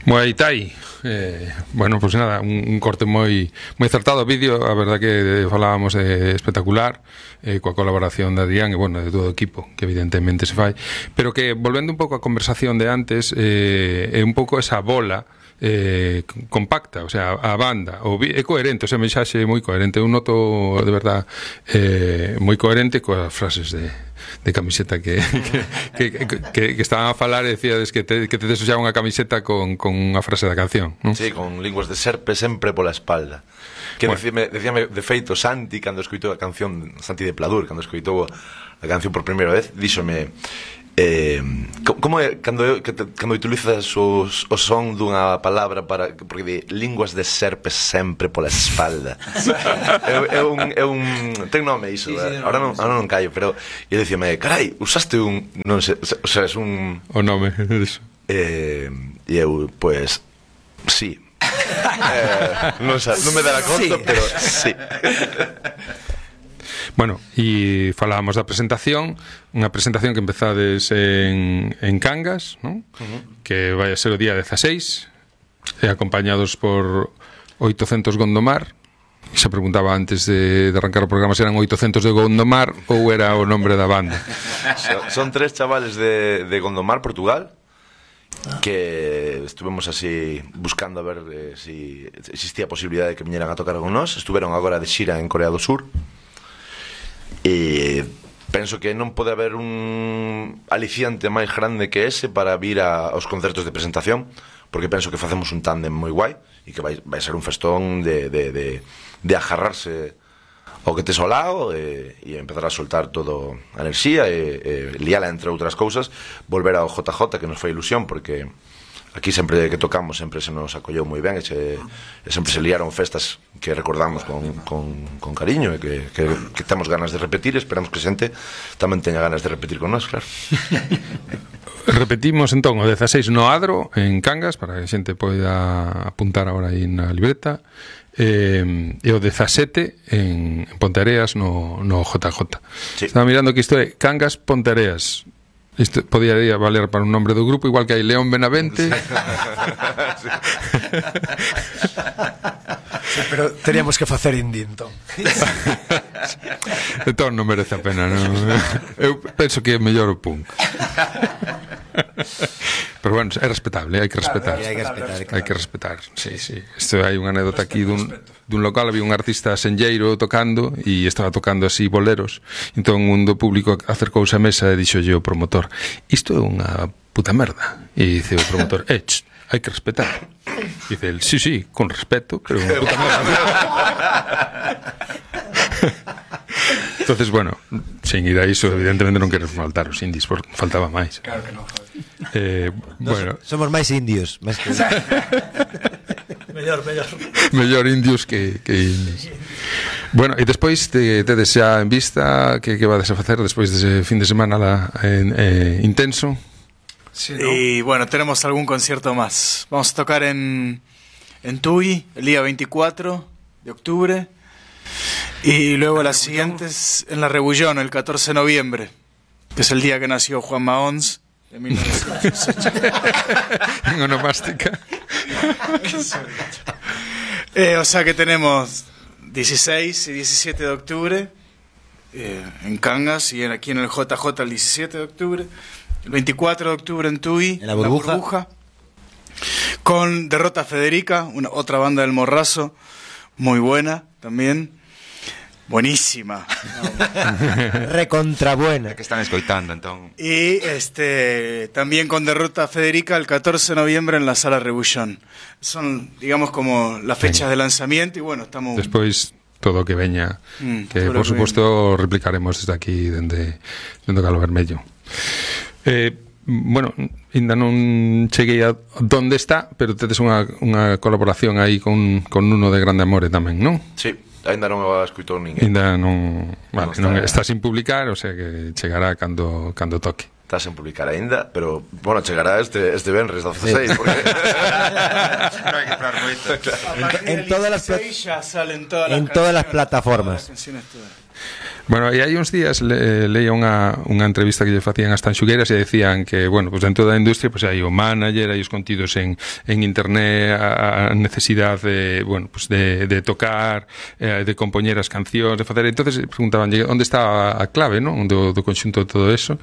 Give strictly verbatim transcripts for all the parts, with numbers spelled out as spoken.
Muay Thai. Eh, bueno, pois pues nada, un, un corte moi moi acertado. O vídeo, a verdad que falábamos de espectacular, eh, coa colaboración de Adrián e, bueno, de todo o equipo, que evidentemente se fai. Pero que, volvendo un pouco á conversación de antes, eh, é un pouco esa bola eh, compacta, o sea, a banda o é coherente, o sea, mensaxe moi coherente. Eu noto, de verdad, eh, moi coherente coas frases de de camiseta que que, que, que, que estaban a falar e decíades que te, que te des xa unha camiseta con, con unha frase da canción, non? Sí, con linguas de serpe sempre pola espalda. Que bueno. decíame, decíame de feito Santi cando escoitou a canción, Santi de Pladur, cando escoitou a canción por primeira vez, díxome eh, como é cando, cando utilizas os, o son dunha palabra para, porque de linguas de serpe sempre pola espalda. é, é un, é un ten nome iso, sí, sí, ahora non, ahora non callo, pero e dicíame, carai, usaste un, non sei, o sea, es un o nome diso. Eh, e eu, pues, sí. eh, non, sa, non me dará conta, sí. Pero sí. Bueno, e falábamos da presentación, unha presentación que empezades en, en Cangas, ¿no? Uh-huh. Que vai a ser o día dezaseis, e acompañados por oitocentos Gondomar. E se preguntaba antes de, de arrancar o programa se eran oitocentos de Gondomar ou era o nombre da banda. Son, son tres chavales de, de Gondomar, Portugal, que estuvemos así buscando a ver eh, si existía a posibilidade de que viñeran a tocar con nós. Estuveron agora de xira en Corea do Sur. E penso que non pode haber un aliciante máis grande que ese para vir a, aos concertos de presentación, porque penso que facemos un tándem moi guai e que vai, vai ser un festón de, de, de, de agarrarse ao que tes ao lado e, e empezar a soltar todo a enerxía e, e liala entre outras cousas, volver ao J J, que nos foi ilusión, porque aquí sempre que tocamos sempre se nos acolleu moi ben e, se, e sempre se liaron festas que recordamos con, con, con cariño e que, que, que temos ganas de repetir. Esperamos que xente tamén teña ganas de repetir con nós, claro. Repetimos entón o dezaseis no Adro, en Cangas, para que a xente poida apuntar agora aí na libreta, eh, e o dezasete en, en Ponteareas no, no J J. Sí. Estaba mirando que isto é Cangas Ponteareas. Isto podría valer para un nombre do grupo, igual que hai León Benavente. Sí. Sí, pero teríamos que facer indie, entón. Entón non merece a pena, non? Eu penso que é mellor o punk. Pero bueno, é respetable, hai que respetar. Claro, hai que respetar, claro. Hai que respetar, sí, sí. Isto hai unha anécdota aquí dun, dun local, había un artista senlleiro tocando e estaba tocando así boleros. Entón un do público acercouse á mesa e dixolle o promotor: isto é unha puta merda. E dice o promotor: eh, ch, hai que respetar. E dice el: sí, sí, con respeto, pero unha puta merda. Entonces, bueno, sin ir a iso, evidentemente non queremos faltar os indies, porque faltaba máis. Claro que non. Eh, bueno, somos máis indios, máis que... mellor, mellor. Mellor indios que, que indies. Bueno, e despois te, tedes xa en vista que, que vades a facer despois dese fin de semana la, en, eh, intenso. Sí, ¿no? Y bueno, tenemos algún concierto más. Vamos a tocar en, en Tui el día veinticuatro de octubre. Y luego las siguientes en La Rebullón, el catorce de noviembre, que es el día que nació Juan Maons, de mil novecientos ochenta. En onomástica. eh, o sea que tenemos dieciséis y diecisiete de octubre eh, en Cangas, y en, aquí en el J J el diecisiete de octubre, el veinticuatro de octubre en Tui, en La Burbuja, la burbuja con Derrota Federica, una, otra banda del Morrazo, muy buena también. Buenísima. Recontrabuena. Que están escoitando, entón. Y este también con Derrota Federica el catorce de noviembre en la Sala Rebullón. Son, digamos, como las fechas de lanzamiento y bueno, estamos... Despois todo o que veña, mm, que por suposto replicaremos desde aquí, dende, dende Galo Vermello. Eh, bueno, ainda non cheguei a donde está, pero tedes unha, unha colaboración aí con, con Nuno de Grande Amore tamén, non? Sí. Ainda non o escutou ninguén. Ainda non, vale, non, está, non está sin publicar, o sea que chegará cando cando toque. Está sin publicar aínda, pero bueno, chegará este este venres dezaseis, porque non hai que esperar moito. En, en todas as ya salen todas en las todas las plataformas. Todas las canciones, todas. Bueno, e hai uns días le, leía unha, unha entrevista que lle facían as Tanxugueiras e decían que, bueno, pues dentro da industria pues hai o manager, hai os contidos en, en internet, a, a necesidade de, bueno, pues de, de tocar, eh, de compoñer as cancións, de facer. Entonces preguntaban onde está a clave, ¿no? do, do conxunto de todo eso,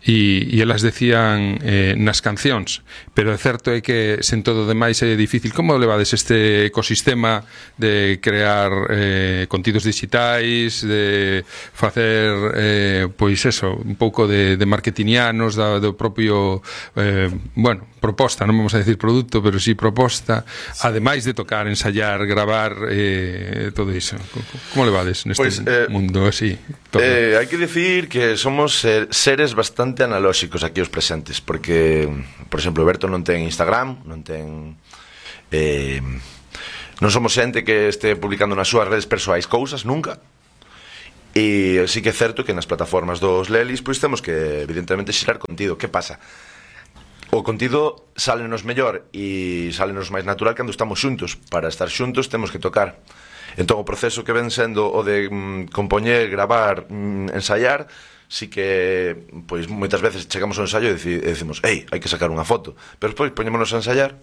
e, e elas decían eh, nas cancións, pero é certo é que sen todo demais é difícil. Como levades este ecosistema de crear eh, contidos digitais, de facer eh, pois eso, un pouco de, de marketingianos da, do propio eh, bueno, proposta, non vamos a decir produto, pero sí proposta, sí. Ademais de tocar, ensayar, gravar eh, todo iso. Como levades neste pues, eh, mundo así? Eh, hai que decir que somos seres bastante analóxicos aquí os presentes, porque, por exemplo, Berto non ten Instagram, non ten eh, non somos xente que este publicando nas súas redes persoais cousas, nunca. E sí que é certo que nas plataformas dos Lelis pois temos que evidentemente xerar contido. Que pasa? O contido sálenos mellor e sálenos máis natural cando estamos xuntos. Para estar xuntos temos que tocar. Entón o proceso que ven sendo o de mm, compoñer, gravar, mm, ensaiar, sí que pois moitas veces chegamos ao ensaio e decimos, ei, hai que sacar unha foto, pero despois poñémonos a ensaiar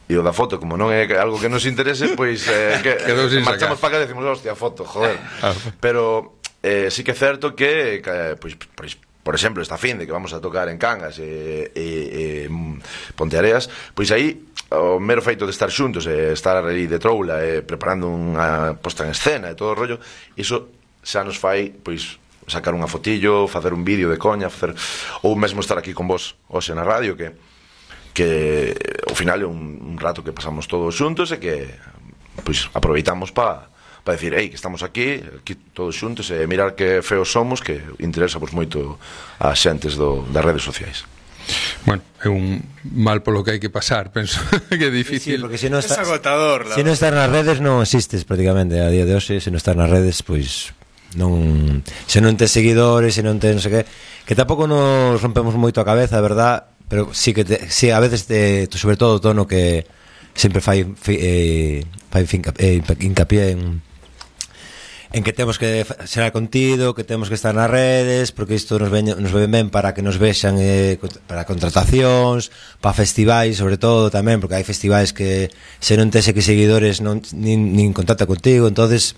e o da foto, como non é algo que nos interese, pois eh, que, eh, marchamos para cá e decimos, hostia, foto, joder. Pero eh, sí que é certo que, que pois, pois, por exemplo, esta fin de que vamos a tocar en Cangas e, e, e Ponteareas, pois aí o mero feito de estar xuntos e estar aí de troula e preparando unha posta en escena e todo o rollo, iso xa nos fai, pois, sacar unha fotillo, facer un vídeo de coña, facer, ou mesmo estar aquí con vos hoxe na radio, que que ao final é un, un rato que pasamos todos xuntos e que pois aproveitamos para pa decir, ei, que estamos aquí, aquí todos xuntos e mirar que feos somos, que interesa pues, moito a xentes do, das redes sociais. Bueno, é un mal polo que hai que pasar, penso que é difícil. Sí, sí, porque se non está, es agotador. Se non estás nas redes non existes prácticamente a día de hoxe, se non estás nas redes, pois non, se non tes seguidores, se non tes non sei que, que tampouco nos rompemos moito a cabeza, a verdad. Pero sí que te, sí, a veces te, sobre todo o tono que sempre fai eh, fai eh, hincapié en en que temos que ser contido, que temos que estar nas redes, porque isto nos ven, nos ven ben para que nos vexan eh, para contratacións, para festivais, sobre todo tamén, porque hai festivais que se non tes que seguidores non nin, nin contacta contigo, entonces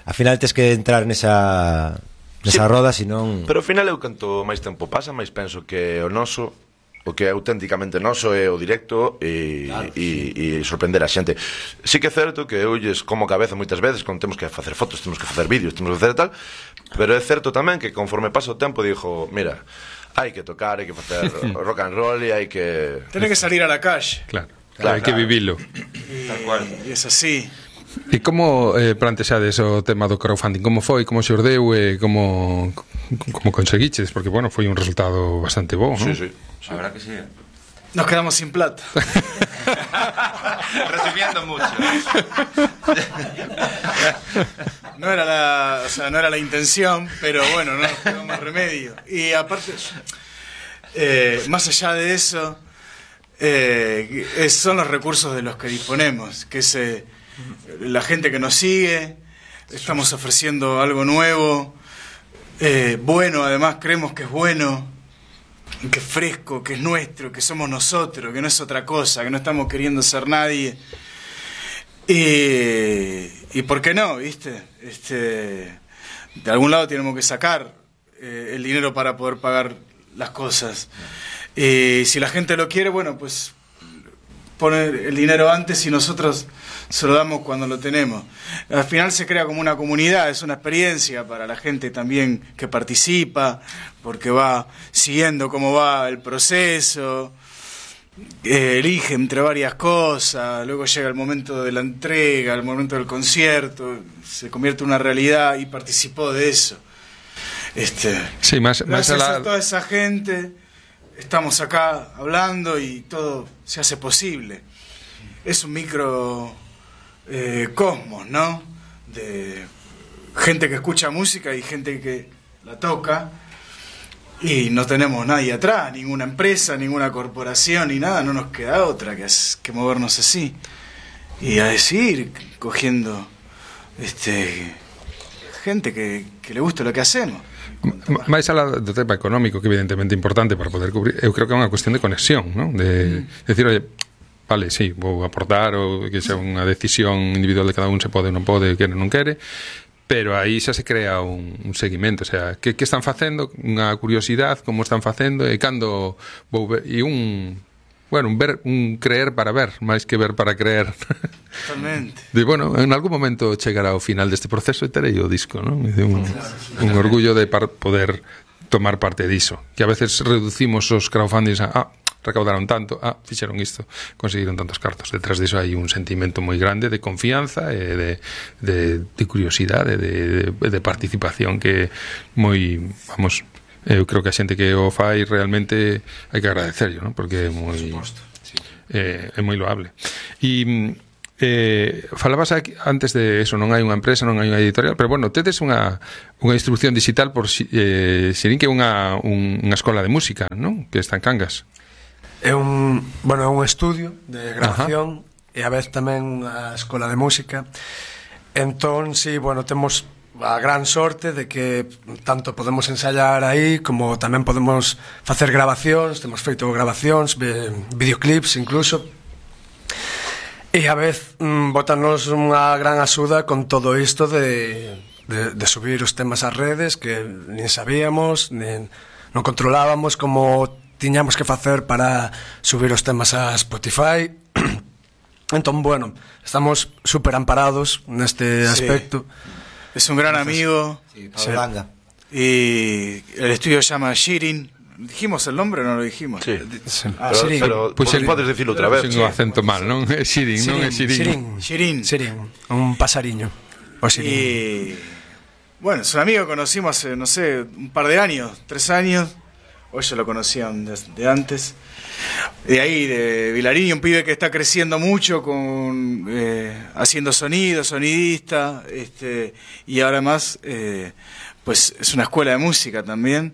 ao final tes que entrar nesa nesa sí, roda, senón. Pero ao final eu canto máis tempo pasa, máis penso que o noso o que é auténticamente noso é o directo e, claro, e, sí. e sorprender a xente. Sí que é certo que eu lles como cabeza moitas veces cando temos que facer fotos, temos que facer vídeos, temos que facer tal, pero é certo tamén que conforme pasa o tempo dixo, mira, hai que tocar, hai que facer rock and roll e hai que... Tiene que salir a la calle. Claro, claro, hai que vivilo. E, Tal cual. E es así. E como eh, plantexades o tema do crowdfunding? Como foi, como xordeu e como, como conseguiches? Porque, bueno, foi un resultado bastante bo, sí, ¿no? Sí, sí. La verdad que sí. Nos quedamos sin plata. Resumiendo mucho. No era la, o sea, no era la intención, pero bueno, no nos quedó más remedio. Y aparte, eh, más allá de eso, eh, es, son los recursos de los que disponemos, que es eh, la gente que nos sigue. Estamos ofreciendo algo nuevo, eh, bueno, además creemos que es bueno, que es fresco, que es nuestro, que somos nosotros, que no es otra cosa, que no estamos queriendo ser nadie. Y, y ¿por qué no? ¿Viste? Este, de algún lado tenemos que sacar eh, el dinero para poder pagar las cosas. Y si la gente lo quiere, bueno, pues poner el dinero antes y nosotros se lo damos cuando lo tenemos. Al final se crea como una comunidad, es una experiencia para la gente también que participa, porque va siguiendo cómo va el proceso, eh, elige entre varias cosas, luego llega el momento de la entrega, el momento del concierto, se convierte en una realidad y participó de eso. Este, sí, más, gracias más a, la... a toda esa gente estamos acá hablando y todo se hace posible. Es un micro eh, cosmos, ¿no? De gente que escucha música y gente que la toca, y no tenemos nadie atrás, ninguna empresa, ninguna corporación ni nada, no nos queda otra que, es, que movernos así y a decir, cogiendo este gente que, que le guste lo que hacemos. M- máis alá do tema económico, que evidentemente é importante para poder cubrir, eu creo que é unha cuestión de conexión, ¿no? De mm. decir, oye, vale, sí, vou aportar, ou que sea unha decisión individual de cada un, se pode ou non pode, quere ou non quere, pero aí xa se crea un, un seguimento, o sea, que, que están facendo, unha curiosidade, como están facendo, e cando vou ver, e un, bueno, un ver, un creer para ver, máis que ver para creer. Totalmente. De, bueno, en algún momento chegará ao final deste proceso e terei o disco, non? De un, un orgullo de par, poder tomar parte diso, que a veces reducimos os crowdfundings a, ah, recaudaron tanto, ah, fixeron isto, conseguiron tantos cartos. Detrás diso hai un sentimento moi grande de confianza e de, de, de curiosidade, de, de, de participación que moi, vamos, eu creo que a xente que o fai realmente hai que agradecerlo, ¿no? Porque é moi eh, é moi loable. E eh, falabas aquí, antes de eso, non hai unha empresa, non hai unha editorial, pero bueno, tedes unha, unha distribución digital por eh, Xirín, que é unha, un, unha escola de música, non? Que está en Cangas. É un, bueno, é un estudio de grabación. Ajá. E a vez tamén unha escola de música. Entón, sí, bueno, temos a gran sorte de que tanto podemos ensayar aí como tamén podemos facer grabacións, temos feito grabacións, videoclips incluso. E a vez mm, botanos unha gran axuda con todo isto de, de, de subir os temas ás redes, que nin sabíamos, nin, non controlábamos como tiñamos que facer para subir os temas a Spotify. Entón, bueno, estamos super amparados neste aspecto. Sí. Es un gran amigo. Sí, Pablo Langa. Y el estudio se llama Xirín. ¿Dijimos el nombre o no lo dijimos? Sí. Ah, pero, Xirín. pero Pues pues Xirín. podes dicilo outra vez. Sin o acento mal, non? É Xirín, non é Xirín. Xirín. Xirín. Xirín. Un pasariño. O Xirín. Y bueno, es un amigo que conocimos hace, no sé, un par de años, tres años. Hoy ya lo conocían de, de antes. De ahí, de Vilarín, un pibe que está creciendo mucho, con eh, haciendo sonido, sonidista, este, y ahora más, eh, pues es una escuela de música también.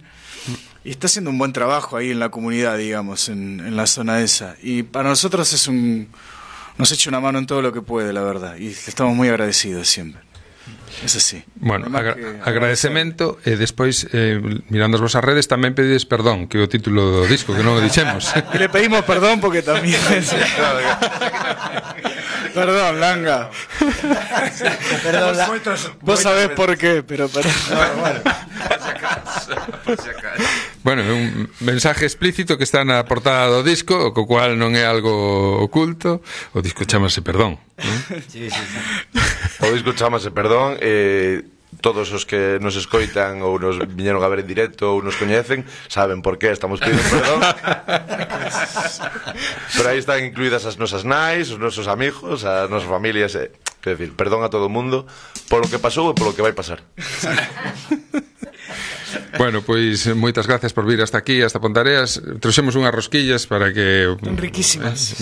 Y está haciendo un buen trabajo ahí en la comunidad, digamos, en, en la zona esa. Y para nosotros es un, nos echa una mano en todo lo que puede, la verdad. Y estamos muy agradecidos siempre. Es así. Bueno, agra agradecemento e despois eh, mirando as vosas redes tamén pedides perdón, que é o título do disco, que non o dixemos. Y le pedimos perdón porque también es... Perdón, Langa. Perdón, la... Vos sabés por qué, pero perdón. Por si acaso, por si acaso. Bueno, é un mensaje explícito que está na portada do disco, co cual non é algo oculto. O disco chamase Perdón, non? Sí, sí, sí. O disco chamase Perdón. eh, Todos os que nos escoitan ou nos viñeron a ver en directo ou nos coñecen saben por qué estamos pedindo perdón. Pero aí están incluídas as nosas nais, os nosos amigos, as nosas familias, eh, quer decir, perdón a todo o mundo polo que pasou e polo que vai pasar. Bueno, pois moitas gracias por vir hasta aquí, hasta Pontareas. Trouxemos unhas rosquillas para que... Riquísimas.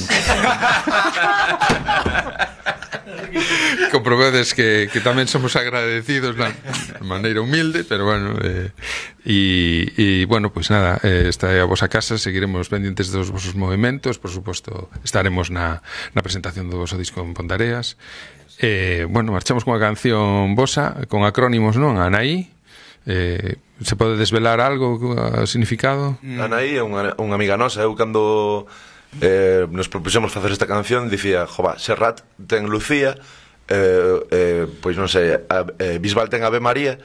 Comprobedes que, que tamén somos agradecidos na maneira humilde, pero bueno, eh, e, e bueno, pois pues nada, eh, esta é a vosa casa, seguiremos pendientes dos vosos movimentos, por suposto estaremos na, na presentación do voso disco en Pontareas. Eh, bueno, marchamos con a canción vosa, con acrónimos, non? Anaí. Eh, se pode desvelar algo, o significado? Mm. Anaí é unha, unha amiga nosa. Eu cando eh, nos propuxemos facer esta canción dicía, jova, Serrat ten Lucía, eh, eh, pois non sei, a, eh, Bisbal ten Ave María,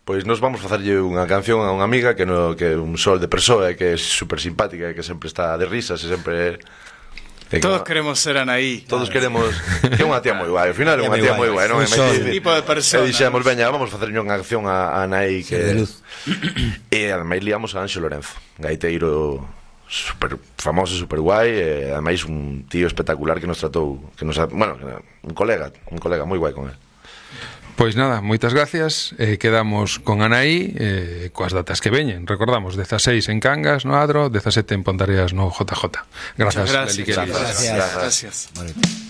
pois nos vamos facerlle unha canción a unha amiga que, no, que é un sol de persoa, que é super simpática e que sempre está de risas e sempre... Todos queremos ser Anaí. Todos queremos, que é unha tía moi guai. Ao final é unha tía moi guai, non? Un tipo de persona. E dixemos, veña, vamos facer unha canción a, a Anaí que de luz. E ademais liamos a Anxo Lorenzo, gaiteiro super famoso, super guai, e ademais un tío espectacular que nos tratou, que nos, bueno, un colega, un colega moi guai con él. Pois nada, moitas gracias. eh, Quedamos con Anaí, eh, coas datas que veñen. Recordamos, dezaseis en Cangas, no Adro, dezasete en Pontareas, no J J. Gracias, Gracias, Leli, gracias, gracias. gracias. Gracias. Vale.